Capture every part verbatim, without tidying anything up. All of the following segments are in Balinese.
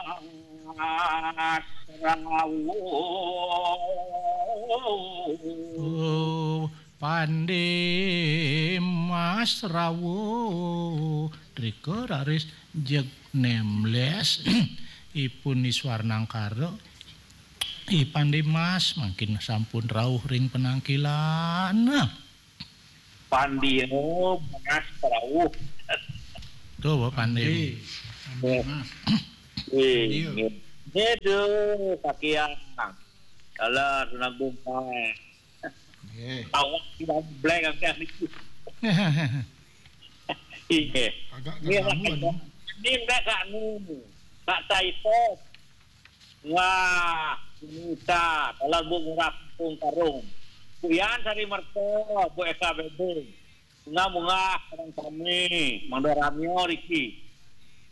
Mas Rawuh. Oh, Pande Mas Rawuh. Drika raris jeg nemles. Ipun Iswar Nangkara. I Pande Mas mangkin sampun rauh ring penangkilan. Pandia Mas Rawuh. Tuh, Bapak Pande. Pande. Pande Mas. Wih, Pandia. Nggih. Nggih, duh, sakian. Kalah, Sunan Agung, Pak. Nggih. Awak tidak blank, angkat niki. Iya. Agak Ini terganggu, aduh. Ini mbak Kak Nu. Kak Saito. Wah, Nita, kalau Bu Ngurah Pung Karung. Bu Yan Sari Merto, Bu Eka Bedung. Bunga-bunga orang kami, Mangda Ramyo Riki.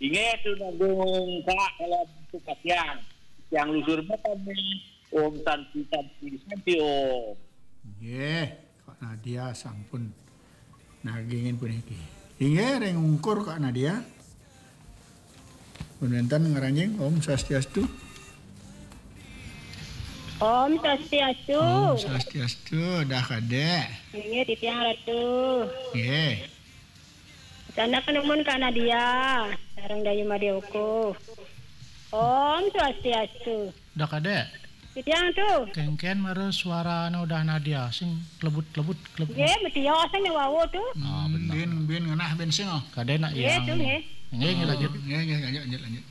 Inggih tu nanggung Kak kalau bentuk kasihan. Yang lusur kami. Om Santi, Santi, Santi Om. Nggih, Kak Nadia sampun nagingin puniki. Inggih, ring ungkur Kak Nadia. Pun wénten ngranjing, Om Swastiastu. Om Swastiastu. Om Swastiastu, dah Kadék. Inggih, titiang Ratu. Nggih. Sanak numun Kak Nadia, sareng Dayu Madé Uku. Om Swastiastu. Dah Kadék. Titiang tu. Kénkén mara suarane Udah Nadia, sing klebut-klebut, klebut. Nggih, metios sing wau tu. Ah, bener. Bin, bin ngenah bin sing, oh. Kadék nak. Nggih, yang tu, nggih. Nggih, nggih, lanjut. Oh, nggih, nggih, lanjut, lanjut, lanjut.